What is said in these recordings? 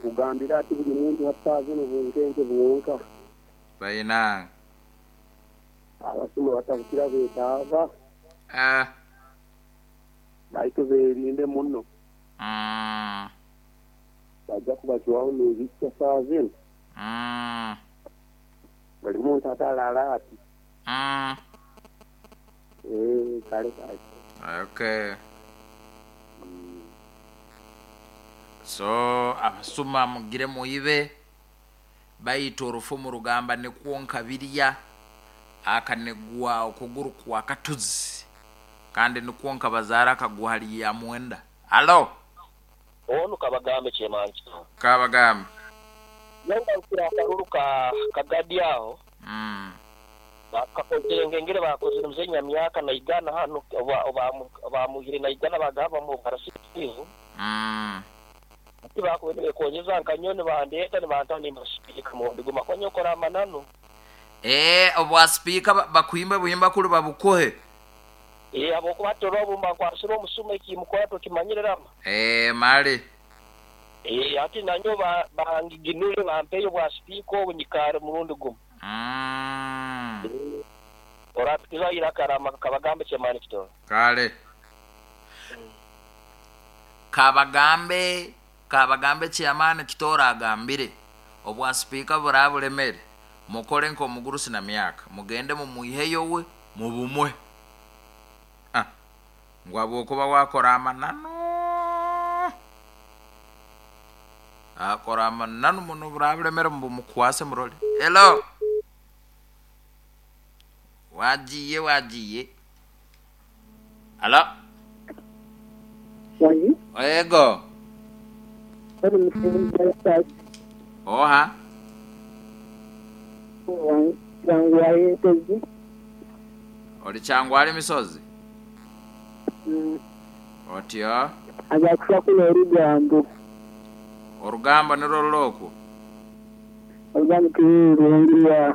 Nkugambira ati buli muntu ha zinu bunkenke bwonka. Bainange. Abasuma batabukira beetaaba. Ah. Baitu beerinde muno. Bajja kubacwaho n'ebikya saaha zinu. Buli muntu atalaala ati. Eeh kale kale. Okay. So abasuma mugire muibe baitu orufumu rugamba nikwo nkabirya akanigwa okuguru kwa katuzi kandi nikwo nkabazaara akagwa hali ya mwenda. Halo. Onu Kabagambe Kyemancho. Kabagambe. Nyowe ngarukire akaruru ka Kagadi aho. Bakakozire ngengere bakozire mzee Nyamyaka naigana hanu oba bamwihire naigana bagamba bamuha obwa RCC. Hati bakubaire nibekonyeza nka nyowe nibandeeta nibanta nimba sipiika murundi gumu ahakuba nyowe nkora amananu. Eeh obwa sipiika bakuhimba buhimba kuli babukuhe. Eeh habwokuba hati orora obumba nkwasire omusuma ekimukora tokimanyire Rama. Eeh mali. Eeh hati nanyowe bangiginule bampeyo obwa sipiika obu nyikaare murundi gumu. Orapikizaho iraka Rama Kabagambe Kyemani Kitoro. Kale. Kabagambe Kabagambe Chairman Kitoro agambire obwa sipiika buraba bulemere mukore nk'omugurusi na myaka mugende mumwiheyo we mubumuhe. Ah, ngu habwokuba wakora amananu akora amananu muno buraba bulemere mubumukwase murole. Hello. Wagiye wagiye. Halo. Wangi? Ego. Bali mu Oha. Kyangwali ensozi. Oli Kyangwali misozi? Mm. Otyo? Aja kufa kuno olugambo. Orugambo nirwo ruli okwo? Olugambo tiruli.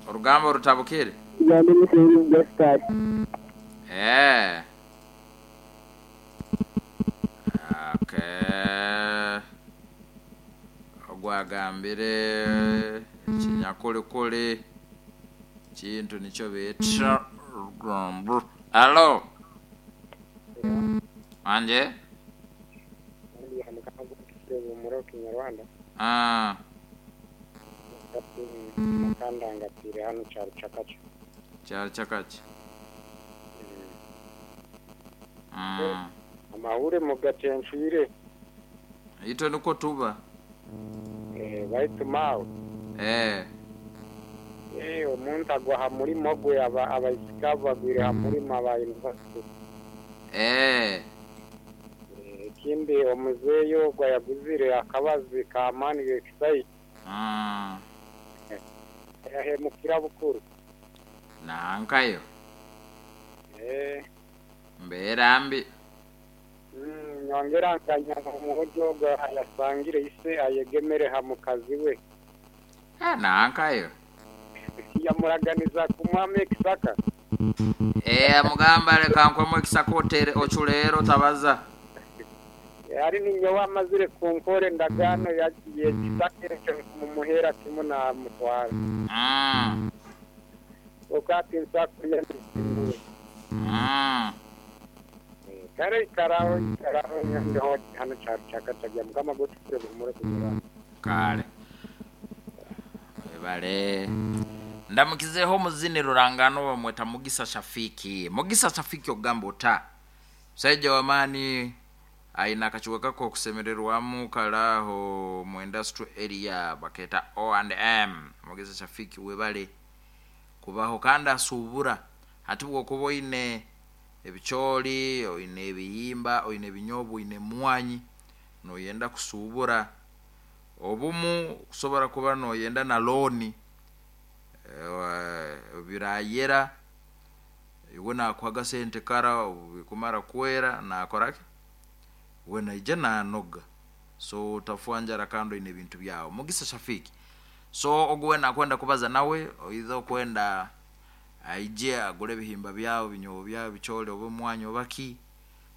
Orugambo rutabukire? Tugambe Museveni Justus. Eeh. Okay. Ogu agambire ekinyakulikuli kintu nikyo beeta orugambo. Halo. Wanje? Ah. Kyaro kyakaki? Amahuri mugatencwire. Itwe nikwo tuba. Baitu maawe. Eh. Omuntu agwa ha murimo gwe abaisiki abo bagwire ha murimo aba university. Ekindi omuzeeyi ogwo ayaguzire akabazi k'amaani g'ekisaija. Yahemukira bukuru. Nankayo. Mbeera mbi. Nyongera nkanya omwojo ogwo ayasangire ise ayegemere ha mukazi we. Nankayo. Yamuraganiza kumwama ekisaka. Amugamba leka nkwemu ekisaka otere oculeero otabaza. Ali ninyowe amazire kunkora endagaano y'ekisaka ekyo nkumumuheera kimu namutwara. Okati nsakulya nisimuwe. Kale ikaraho ikaraho nyandeho hano kyaro kyakatagya Mukama gotukire buhumure kunyurana. Kale. Webale. Ndamukizeho omuzini rurangano bamweta Mugisa Shafiki. Mugisa Shafiki ogamba ota. Musaija w'amaani aine akacuwe kako okusemererwamu karaho mu industrial area baketa O&M. Mugisa Shafiki webale kubaho kandi asuubura. Hati bwokuba oine ebicooli, oine ebihimba, oine ebinyobwa, oine emwanyi noyenda kusuubura obumu kusobora kuba noyenda na looni birayera iwe nakuha agasente kara obu bikumara kwera nakoraki we naija nanoga so otafwa njara kandi oine ebintu byawe. Mugisa Shafiki so ogu weena akwenda kubaza nawe oiza okwenda aije agure ebihimba byawe, ebinyobwa byawe, ebicooli oba omwanya oba ki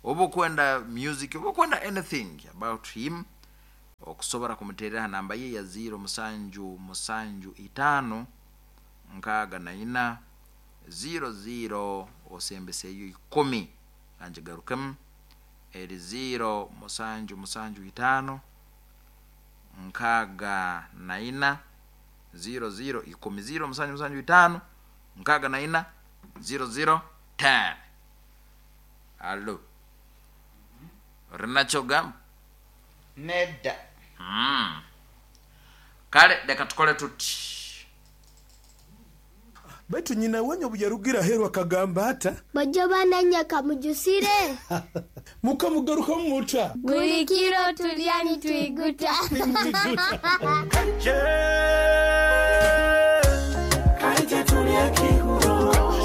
oba okwenda music oba okwenda anything about him. Okusobora kumuterera ha namba ye ya 0 musanju musanju itaano nkaaga na ina 0 0 osembeseyo ikumi. Kangigarukemu, eri 0 musanju musanju itaano nkaaga na ina 0 0 ikumi. 0 musanju musanju itaano nkaaga na ina 0 0 10. Allo, orinakyo ogamba? Nedda. Kale leka tukole tuti. Baitu nyina wanyu obu yarugire aheeru akagamba ata? Bojo bananya kamujusire. Mukamugarukamu muta? Buli kiro tulya nitwiguta.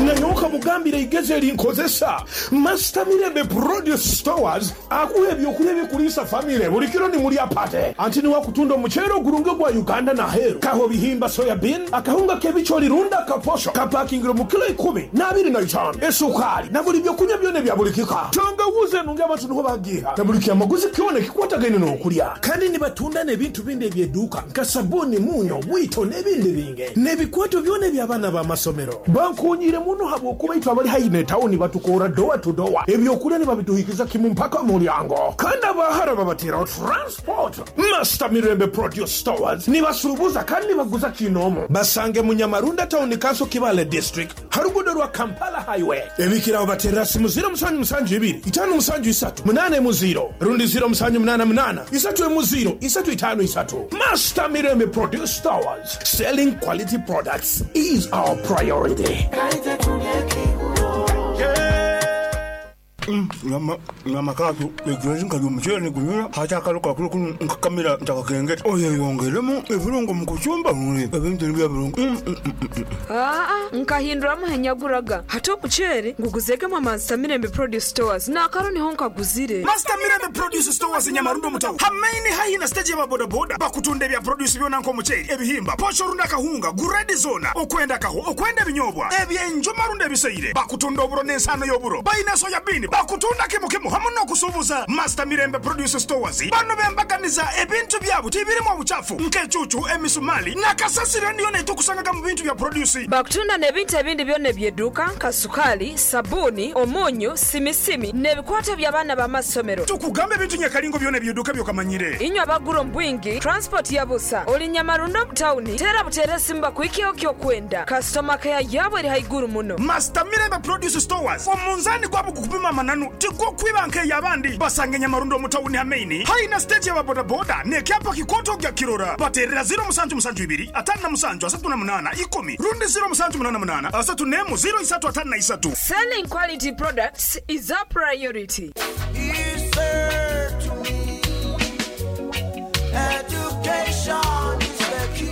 Nanyowe kamugambire eigezi eri nkozesa. Master Mirembe Produce Stores akuha ebyokulya ebikuliisa famire buli kiro nimulya pate. Anti niwe akutunda omuceere ogurungi ogwa Uganda n'aheeru. Kaho bihimba soya bean, akahunga k'ebicoli rundi akaposho kapakingire omu kilo ikumi n'abiri na itaano, esukaali na buli byokunywa byona ebya buli kika. Tangawuzi enungi abantu niho bagiiha na buli kyamaguzi kyona ekikwatagaine n'okulya. Kandi nibatunda n'ebintu bindi eby'eduuka nka sabuuni, munyo, bwito n'ebindi bingi. N'ebikwato byona eby'abaana b'amasomero. Bankoonyiire muno habw'okuba itwe abali haihi n'etawuni batukoora dowa tu dowa. Ebyokulya nibabituhikiza kimu mpaka mu mulyango. Kandi abahara babateraho transport. Master Mirembe Produce Stores nibasuubuza kandi nibaguza kinoomu. Basange mu Nyamarunda Town Council Kibaale District ha ruguudo rwa Kampala Highway. Ebikiraho baterera simu ziro musanju musanju ibiri itaano musanju isatu munaana emu ziro rundi ziro musanju munaana munaana isatu emu ziro isatu itaano isatu. Master Mirembe Produce Stores, selling quality products is our priority. Nyama kaatu egirazi nkalya omuceere nigunyura hati akalo kakiro kunu nkakamira ntakakengeta oyeyongeremu ebirungo mu kucumba ebintu nibyo birungi. Aa, nkahinduramu henyaguraga hati omuceere nguguzegemu Master Mirembe Produce Stores n'akaro niho nkaguzire. Master Mirembe Produce Stores Nyamarundo mutawu hamaini haihi na stage y'ababodaboda bakutunda ebya produce byona nk'omuceere ebihimba posho runda akahunga guredi zona okwenda kaho okwenda ebinyobwa ebyenjuma runda ebiseire bakutunda oburo n'ensano y'oburo bayina soya bean bakutunda kimu kimu hamu n'okusuubuza. Master Mirembe Produce Stores bano bembaganiza ebintu byabo tibirimu obuchafu nk'ecucu emisumali nakasasiro niyo netukusangaga mu bintu bya produce. Bakutunda n'ebintu ebindi byona ebyeduuka nka sukali, sabuni, omunyu, simisimi n'ebikwato by'abaana b'amasomero. Tukugamba ebintu nyakalingo byona ebyeduuka byokamanyire. Inywe abagura omu bwingi, transport ya busa, oli Nyamarundo mu tawuni, tera butere esimu bakuhikeho kyokwenda. Customer care yabo eri haiguru muno. Master Mirembe Produce Stores omunzani gwabo gukupima amananu tigwokwiba nk'eyabandi basange Nyamarundo mu tawuni hamaini haina stage y'ababodaboda n'ekyapa kikoto gya kirora baterera 0 musanju musanju ibiri atano na musanju asatu na munana ikumi rundi 0 musanju munana munana asatu nemu 0 isatu atano na isatu. Selling quality products is our priority.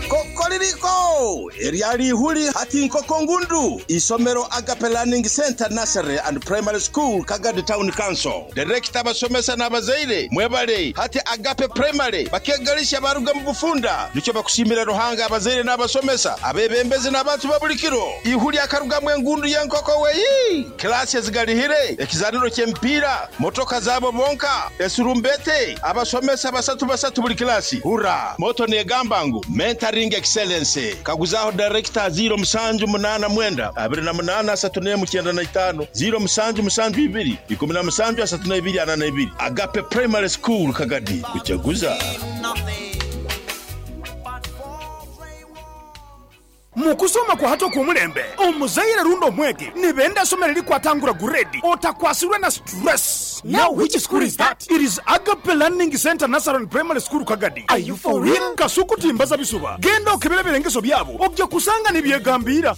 Kokoririko eryali ihuli hati nkoko ngundu isomero Agape Learning Center Nursery and Primary School Kagadi Town Council. Director abasomesa n'abazaire mwebale hati Agape Primary bakegalisha baruga mu bufunda nicyo bakushimira Ruhanga abazaire n'abasomesa abebembezi n'abantu babulikiro ihuli akarugamwe engundu y'enkoko weyi klasi ezigalihire ekizaniro ky'emipiira motoka zabo bonka esurumbete abasomesa basatu basatu buli klasi hura moto negamba ngu mentoring excellence kaguzaho director 0 musanju munana mwenda abiri na munana asatu nemu kyenda na itaano 0 musanju musanju ibiri ikumi na musanju asatu na ibiri ana na ibiri. Agape Primary School Kagadi kuchaguza. Mukusoma kwa hato kumulembe omuzaire rundo omwege nibenda somero likwatangura guredi otakwasirwe na stress. Now which school is that? It is Agape Learning Center Nursery and Primary School Kagadi. Are you for real? Kasuku timbaza bisuba genda okebera ebirengeso byabo ojja kusanga nibyegambira.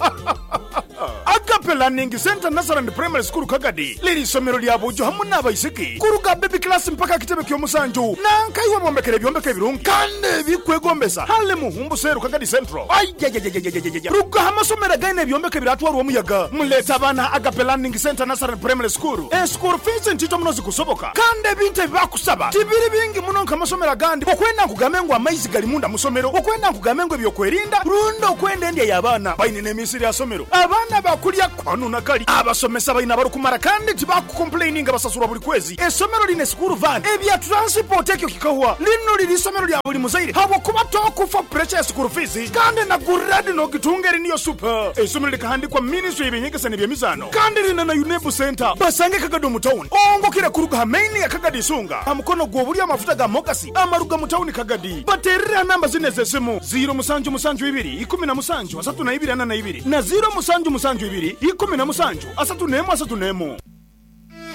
Agape Learning Center Nursery and Primary School Kagadi liri isomero lya bujo hamu n'abaisiki kuruga baby class mpaka kitebe ky'omusanju nankaiwe bombekere ebyombeko ebirungi kandi ebikwegombesa hale muhumbu seru Kagadi Central. Ayayayayayayaya ruga amasomero againe ebyombeko ebiratwarwa omuyaga muleta abaana Agape Learning Center Nursery and Primary School. School fees ntito muno zikusoboka kandi ebintu ebibakusaba tibiri bingi muno nk'amasomero agandi okwenda nkugambe ngu amaizi gali munda musomero okwenda nkugambe ngu ebyokwerinda rundi okwenda endya y'abaana baine n'emisiri ya somero abaana Abaana bakulya kanu na kali. Abasomesa baine abarikumara kandi tibakukomplaininga basasurwa buri kwezi. Esomero liine school van. Ebya transport ekyo kikahwa. Linu liri isomero lya buli muzaire habwokuba tokufa pressure ya school fees kandi na grade nogitunga eri niyo super. Eisomero likahandikwa ministry y'ebyenyegesa n'ebyemizaano kandi liine na UNEB centre. Basange Kagadi omu town ongokire kuruga ha main ya Kagadi Isunga ha mukono gw'obulyo amafuta ga Mogasi amaruga mu town Kagadi. Baterere ha namba zinu ez'esimu, ziiro musanju musanju ibiri ikumi na musanju asatu na ibiri ana na ibiri na ziiro musanju musanju ibiri ikumi na musanju asatu n'emu asatu n'emu.